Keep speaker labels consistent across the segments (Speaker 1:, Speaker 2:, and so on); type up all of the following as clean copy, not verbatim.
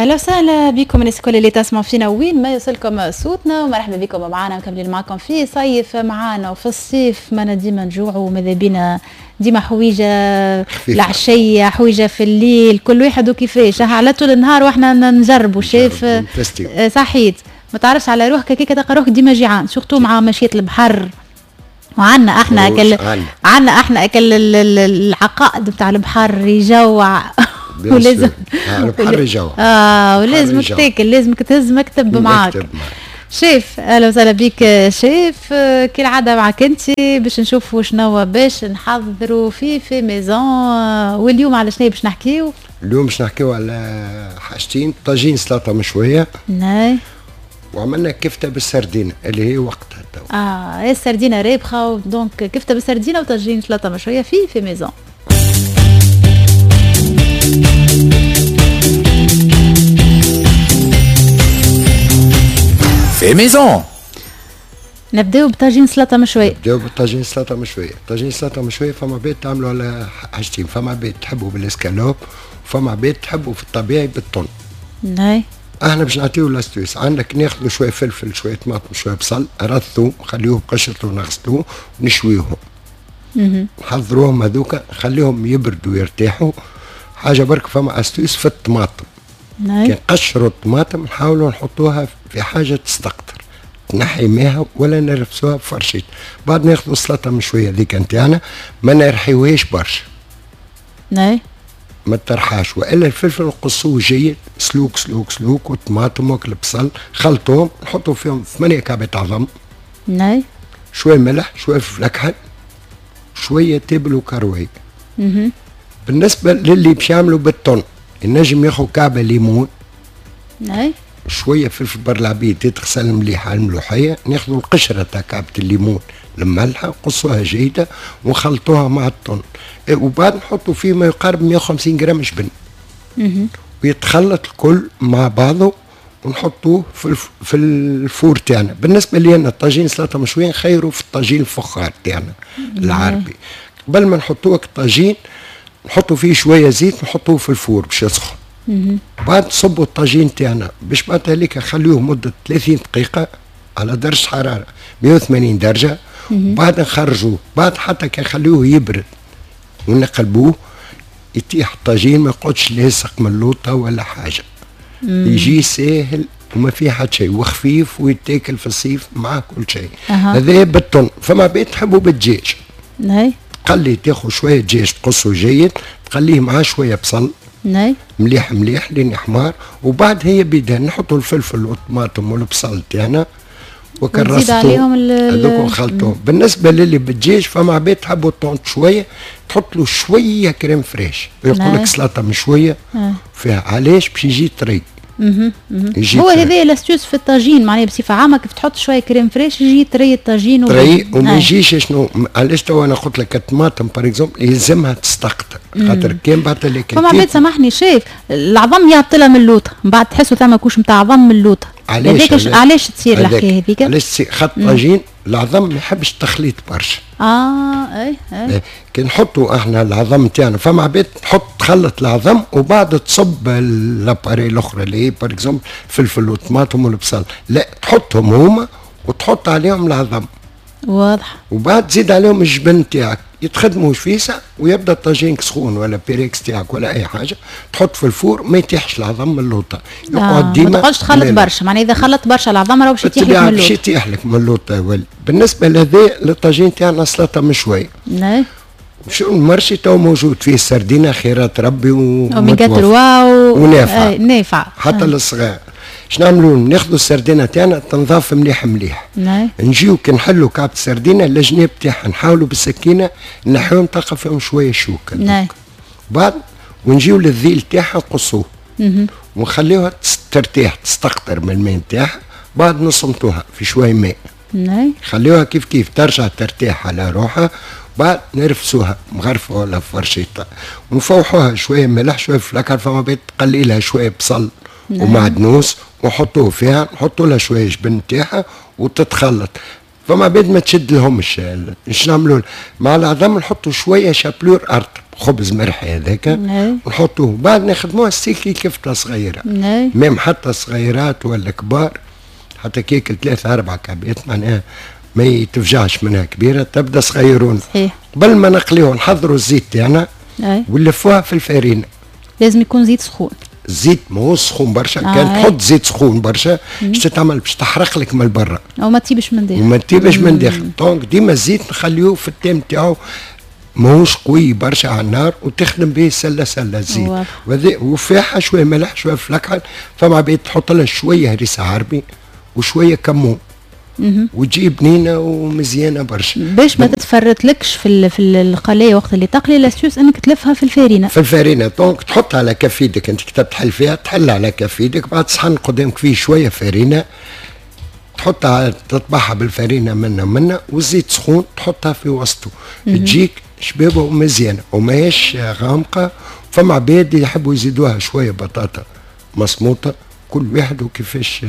Speaker 1: اهلا وسهلا بكم الناس الكل اللي تسمعوا فينا وين ما يوصلكم صوتنا، ومرحبا بكم معنا مكملين معكم في صيف معنا. وفي الصيف ما ديما نجوعوا وماذا بينا ديما حويجه العشية، حويجه في الليل، كل واحد وكيفاش على طول النهار واحنا نجربوا. شايف صحيت ما تعرفش على روحك كيك تلقى روحك ديما جيعان، surtout مع مشية البحر. وعنا احنا اكل، عنا احنا اكل العقائد بتاع البحر يجوع.
Speaker 2: ولازم البحر يجوع.
Speaker 1: ولازمك تاكل، لازمك تهز مكتب معاك. شيف اهلا وسهلا بك شيف، كالعادة معك انت باش نشوفوا شنو باش نحضروا في fait maison. واليوم على شنو باش نحكيو؟
Speaker 2: اليوم باش نحكيو على حاجتين، طاجين سلطة مشوية.
Speaker 1: نعم.
Speaker 2: وعملنا كفته بالسردينه اللي هي وقتها تو.
Speaker 1: السردينه رابخه، donc كفته بالسردينه وطاجين سلطة مشوية في fait maison.
Speaker 3: fait maison.
Speaker 1: نبداو بطاجين سلطة مشوية.
Speaker 2: نبداو بطاجين سلطة مشوية، طاجين سلطة مشوية فما عباد تعملوا على حاجتين، فما عباد تحبوا بالاسكالوب وفما عباد تحبوا في الطبيعي بالطن.
Speaker 1: ناي.
Speaker 2: احنا باش نعطيو l'astuce، عندك ناخذوا شوية فلفل، شوية طماطم، شوية بصل، رثو، نخليوه بقشرته ونغسلوه ونشويوهم. نحضروهم هذوكا، نخليهم يبردوا ويرتاحوا. حاجة برك فما astuce في الطماطم. كي نقشروا الطماطم نحاولوا نحطوها في حاجة تستقطر، تنحي ماها ولا نرفسوها بفرشيط. بعد ناخذوا السلطة مشوية ذيك نتاعنا، ما نرحيوهاش برشا.
Speaker 1: ناي.
Speaker 2: ما ترحاش، والا الفلفل نقصوه جيد، سلوك سلوك سلوك، والطماطم والبصل خلطوهم، نحطوا فيهم 8 كعبات عظم.
Speaker 1: ناي.
Speaker 2: شوية ملح، شوية فلفل اكحل، شوية تابل وكروي. بالنسبة للي باش يعملوا بالطن، النجم ياخذ كعبه ليمون.
Speaker 1: ناي.
Speaker 2: شوية فلفل برلعبيد يتغسل مليح على الملوحيه، ناخذوا القشرة تاع كعبه الليمون المملحه، نقصوها جيدة ونخلطوها مع الطن، وبعد نحطوا فيه ما يقارب 150 جرام جبن. ويتخلط الكل مع بعضه ونحطوه في ال four تاعنا. بالنسبة لي انا الطاجين سلطة مشوية نخيروا في الطاجين الفخار تاعنا العربي. قبل ما نحطوه الطاجين نحطوا فيه شوية زيت، نحطوه في ال four باش يسخن. بعد نصبوا الطاجين تاعنا باش بعد هذيك نخليوه مده 30 دقيقة على درجه حرارة 180 درجه. بعد نخرجوه، بعد حتى كي نخليوه يبرد ونقلبوه يطيح الطاجين، ما يقعدش لاصق من اللوطه ولا حاجة. يجي ساهل وما فيه حتى شيء، وخفيف ويتاكل في الصيف مع كل شيء. هذا بالطن. فما بيت تحبوا بالدجاج.
Speaker 1: ناي.
Speaker 2: تقلي، تاخذ شوية دجاج تقصه جيد، تقليه معاه شوية بصل.
Speaker 1: ناي.
Speaker 2: مليح مليح لين يحمر، وبعد هي بيدها نحطوا الفلفل والطماطم والبصل تاعنا
Speaker 1: وكرستو عليهم
Speaker 2: هذوك ونخلطوهم. بالنسبة للي بالدجاج فما عباد تحبوا الطون شوية، تحط له شوية crème fraîche، ويقول لك سلطة مشوية فيها. علاش؟ باش يجي طري.
Speaker 1: هو هذا l'astuce في الطاجين، معناها بصفة عامة كيف تحط شوية crème fraîche يجي طري الطاجين
Speaker 2: طري وما يجيش. شنو علاش تو انا قلت لك الطماطم par exemple يلزمها تستقطر، خاطر كان بعد اللي
Speaker 1: فما عباد سامحني شايف العظم يعطلها من اللوطه، من بعد تحسوا ثما couche نتاع عظم من اللوطه. علاش علاش تصير الحكاية هذيك؟
Speaker 2: علاش تصير؟ خاطر الطاجين العظم ما يحبش التخليط برشا.
Speaker 1: اي اي.
Speaker 2: كي نحطوا احنا العظم تاعنا، فما عباد تحط تخلط العظم وبعد تصب l'appareil الاخرى اللي هي par exemple فلفل وطماطم والبصل، لا تحطهم هما وتحط عليهم العظم.
Speaker 1: واضح.
Speaker 2: وبعد تزيد عليهم الجبن تاعك، يتخدموا فيسع ويبدا الطاجين سخون ولا بيريكس تاعك ولا اي حاجة، تحط في ال four ما يتيحش العظم من اللوطه،
Speaker 1: يقعد ديما. ما تقعدش تخلط برشا، معناها اذا خلطت برشا العظم راه باش يتيح لك من اللوطه. باش
Speaker 2: يتيح لك من اللوطه. بالنسبة لهذا للطاجين تاعنا سلطة مشوية.
Speaker 1: نعم.
Speaker 2: شو ال marché تو موجود فيه السردينه خيرات ربي
Speaker 1: اوميغا 3
Speaker 2: ونافعة.
Speaker 1: نافعة
Speaker 2: حتى للصغار. شنو نعملوا؟ ناخذوا السردينه تاعنا تنظاف مليح مليح.
Speaker 1: نعم.
Speaker 2: نجيو كي نحلوا كعبه السردينه الجناب تاعها نحاولوا بالسكينة نحيوهم، تلقى فيهم شوية شوك.
Speaker 1: نعم.
Speaker 2: بعد ونجيو للذيل تاعها نقصوه. ونخليوها ترتاح تستقطر من الماء تاعها، بعد نصمتوها في شوية ماء.
Speaker 1: نعم.
Speaker 2: خليوها كيف كيف ترجع ترتاح على روحها، بعد نرفسوها مغرفه ولا فرشيطه ونفوحوها شوية ملح شوية فلكر، فما بيت تقلي لها شوية بصل. نعم. ومعدنوس ونحطوه فيها، نحطوا لها شوية جبن تاعها وتتخلط. فما بيد ما تشد لهمش. اش نعملوا مع العظم؟ نحطوا شوية chapelure ارطب. خبز مرحي هذاك نحطوه، بعد نخدموها سيكي كفته صغيرة، même حتى صغيرات ولا كبار، حتى كي ياكل 3 4 كعبات معناها ما يتفجعش منها كبيرة، تبدا صغيرون.
Speaker 1: صحيح.
Speaker 2: قبل ما نقليوه نحضروا الزيت تاعنا ونلفوها في الفارينه.
Speaker 1: لازم يكون زيت سخون.
Speaker 2: الزيت ماهوش سخون برشا، كان تحط زيت سخون برشا باش تتعمل باش تحرق لك من برا
Speaker 1: وما تطيبش من داخل.
Speaker 2: وما تطيبش من داخل، donc ديما الزيت نخليوه في التام تاعو ماهوش قوي برشا على النار، وتخدم به سله سله الزيت. وفيها شوية ملح شوية فلكحل، فما عباد تحط لها شوية هريسه عربي وشوية كمون وتجي بنينه ومزيانه برشا.
Speaker 1: باش ما تتفرتلكش في القلايه وقت اللي تقلي، l'astuce انك تلفها في الفارينه.
Speaker 2: في الفارينه، donc تحطها على كف يدك، انت كي تحل فيها تحل على كف يدك، بعد صحن قدامك فيه شوية فارينه تحطها تطبعها بالفارينه منا منا، والزيت سخون تحطها في وسطه، تجيك شبابه ومزيانه وماهيش غامقه. فما عباد يحبوا يزيدوها شوية بطاطا مصموطه، كل واحد وكيفاش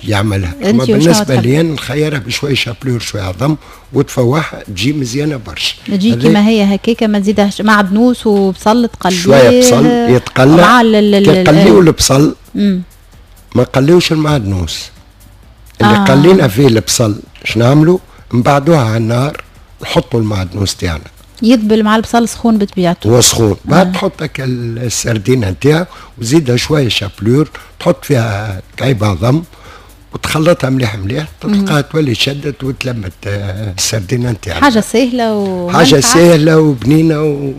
Speaker 2: يعملها. اما بالنسبة لي نخيرها بشوية chapelure شوية عظم وتفوحها تجي مزيانه برشا.
Speaker 1: تجي كيما هي هكاكا، ما تزيدهاش معدنوس وبصل تقليه،
Speaker 2: شوية بصل يتقلى
Speaker 1: مع
Speaker 2: كي البصل ما قليوش المعدنوس اللي قلينا فيه البصل. اش نعملوا؟ نبعدوها على النار، نحطوا المعدنوس تاعنا
Speaker 1: يذبل مع البصل سخون بطبيعته.
Speaker 2: هو سخون، بعد تحط السردينه نتاعك وزيدها شوية chapelure، تحط فيها كعيبه عظم وتخلطها مليح مليح، تلقاها تولي شدت وتلمت السردينه نتاعك.
Speaker 1: حاجة سهلة
Speaker 2: حاجة سهلة وبنينه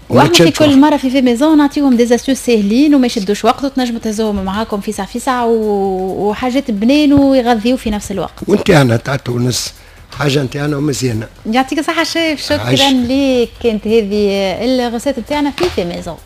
Speaker 1: واحنا في كل مرة في fait maison نعطيهم des astuces ساهلين وما يشدوش وقت، وتنجموا تهزوهم معاكم في ساعة في ساعة، وحاجات بنين ويغذيو في نفس الوقت.
Speaker 2: وانت تاع تونس حاجة نتاعنا ومزيانه.
Speaker 1: يعطيك الصحة شيف، شكرا ليك. كانت هذه ال recette نتاعنا في fait maison.